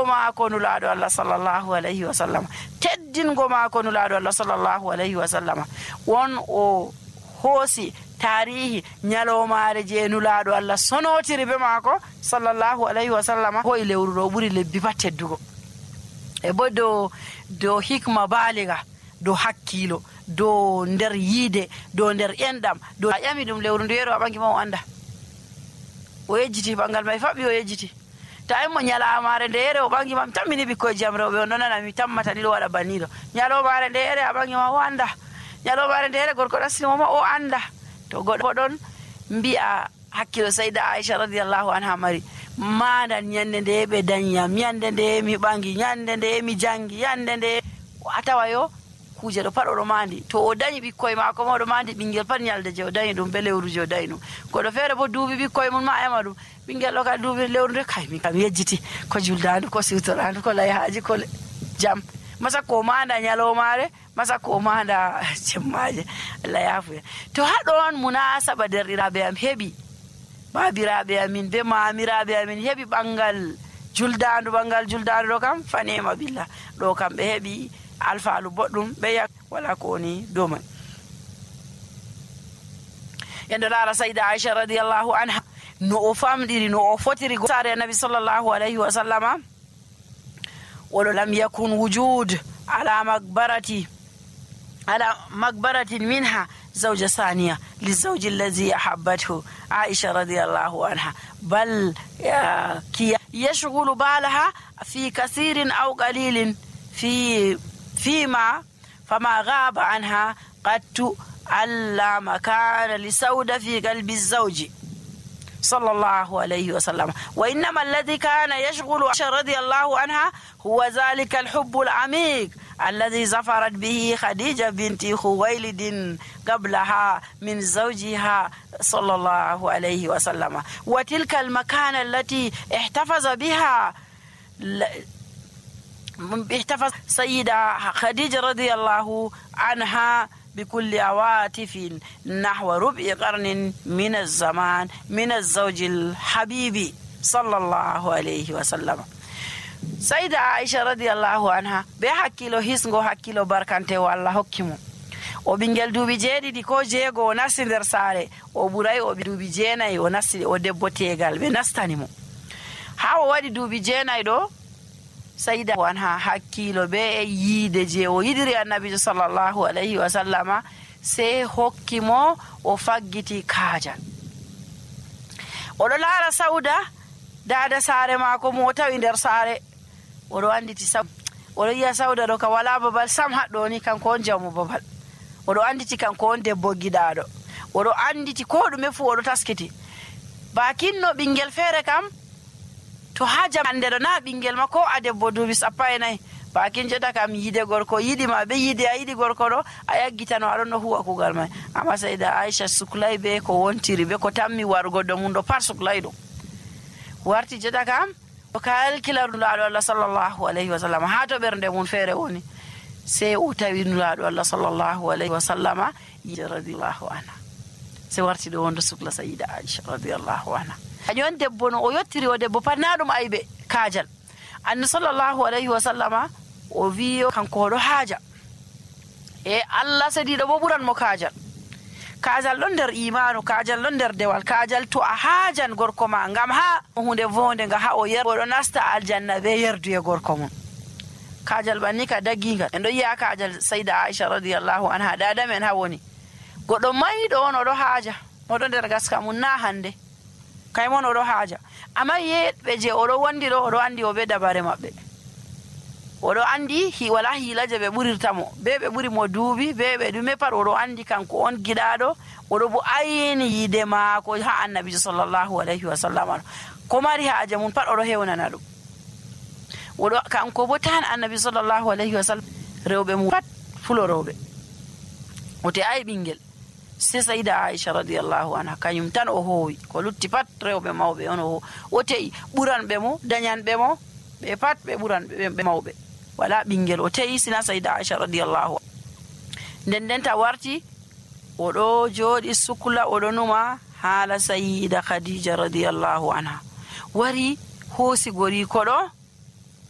maako nulaaɗo Allah sallallahu alayhi wa sallam, teddingo maako nulaaɗo Allah sallallahu alayhi wa sallam, won o hoosi tarihi nyalomaare je nulaaɗo Allah sonotiri be maako sallallahu alayhi wa sallam. Hoyi lewru ɗo ɓuri lebbi pat teddugo, e bo dow hikma baaliga, dow hakkilo, dow nder yiide, dow nder enɗam, dow a ƴami ɗum lewru ndu yeero a ɓangi ma o anda, o yejjiti ɓangal may faɓɓi, o yejjiti. Ta mo nyalamaare nde yere o ɓangi ma, mi tammini ɓikkoye jam rewɓe o nonana mi tammata ni ɗo waɗa banniɗo. Nyalomaare nde yere a ɓangi ma o anda, nyalomaare nde yere gorko ɗassini ma o anda. To goɗɗo ɗon mbi'a hakkilo Sayda Aisha radiyallahu anha mari, maɗan nyande nde ɓe danyam, nyande nde mi ɓangi, nyande nde mi jangi, nyande nde a tawa yo kuje ɗo pat oɗo mandi. To o dañi ɓikkoye maako ma oɗo mandi ɓinguel pat nyalde je o dañi ɗum be lewru je o dañi ɗum. Goɗɗo feere bo duubi ɓikkoye mum ma ema ɗum, ɓinguel ɗo ka duubi lewru nde kay mi kam yejjiti ko juldandu, ko siwtorandu, ko layhaji, ko jam. Masa ko manda nyalomaare, masa ko manda jemmaje. Allah yafuya. To haɗon munasaba derɗiraɓe am heɓi, babiraɓe amin be mamiraɓe amin heɓi ɓangal juldandu ɗo kam fanema billah, ɗo kam ɓe heɓi alfaalu boɗɗum ɓe yak wala ko woni dow man. Yendo laara Sayda Aisha radiyallahu anha no o famɗiri, no o fotiri saare annabi sallallahu alayhi wa sallama. Oɗo lam yakun wujud ala makbaratin minha zawja saniya lizawji allazi ahabbathu Aisha radiyallahu anha, bal yashghulu balaha fi kathirin aw qalilin فيما فما غاب عنها قد ألا مكان لسودة في قلب الزوج صلى الله عليه وسلم، وإنما الذي كان يشغل عائشة رضي الله عنها هو ذلك الحب العميق الذي زفرت به خديجة بنت خويلد قبلها من زوجها صلى الله عليه وسلم، وتلك المكانة التي احتفظ سيدة خديجة رضي الله عنها بكل عواطف نحو ربع قرن من الزمان من الزوج الحبيب صلى الله عليه وسلم. سيدة عائشة رضي الله عنها بحكيلو hisgo hakkilo barkante walla hokkimo o bingel duubi jeedidi ko jeego o nasti nder saare, o buray o duubi jeenayi o nasti o debbo tegal ɓe nastani mo. Ha o waɗi duubi jeenayi ɗo Sayda anha hakkilo be yiide je o yidiri annabijo sallallahu alayhi wa sallama se hokkimo o faggiti kaajal. Oɗo laara Sauda dada saare maako mo tawi nder saare, oɗo anditi oɗo yiya Sauda ɗo ka wala babal sam haɗɗo ni kanko on jamu babal, oɗo anditi kanko on debbo giɗaɗo, oɗo anditi ko ɗume fu oɗo taskiti. Bakinno ɓingel feere kam to ha jamande ɗo na ɓingel ma ko a debbo duubi 14 bakin jeta kam yide gorko yiɗi ma ɓe yiide a yiɗi gorko ɗo a yaggitano aɗon no huwa kugal may. Amma Sayda Aisha suklay be ko wontiri be ko tammi warugo ɗo mum ɗo pat suklay ɗum warti jeta kam o kalkila nulaaɗo Allah sallallahu alayhi wa sallam ha to ɓernde mum feere woni, se o tawi nulaaɗo Allah sallallahu alayhi wa sallama radiyallahu anha, se warti ɗo wonde sukla Sayda Aisha radiyallahu anha. Añon debbo no o yottiri o debbo pat na ɗum aybe kaajal. Annabi sallallahu alayhi wa sallama o wiyo kanko oɗo haaja e Allah sadiɗo bo ɓuran mo kaajal. Kaajal ɗon nder imanu, kaajal ɗon nder dewal, kaajal to a haajan gorko ma ngam ha hunde vonde nga ha o oɗo nasta aljanna be yerduye gorko mum. Kaajal banni ka daggingal en ɗo yiya kaajal Sayda Aisha radiyallahu anha dada men ha woni goɗɗo mayɗo on oɗo haaja, oɗo nder gaska mum na hande kay mon oɗo haaja, amma yeɓɓe je oɗo wondi ɗo oɗo andi o be dabare maɓɓe, oɗo andi wala hiila je ɓe ɓurirta mo, be ɓe ɓuri mo duubi be ɓe ɗume pat oɗo andi kanko on giɗaɗo, oɗo bo ayini yiide maako ha annabijo sallallahu alayhi wa sallam ko mari haaja mum pat oɗo hewnana ɗum. Oɗo kanko bo tan annabi sallallahu alayhi wa sallam rewɓe mum pat fulo rewɓe o te ay ɓingel se Sayda Aisha radiyallahu anha kanyum tan o hoowi, ko lutti pat rewɓe mawɓe on o te'i ɓuranɓe mo dañanɓe mo ɓe pat ɓe ɓuranɓe mawɓe wala ɓingel o te'i sina Sayda Aisha radiyallahu nden ta warti oɗo jooɗi sukla oɗo numa haala Sayida Khadija radiyallahu anha wari hoosi gori koɗo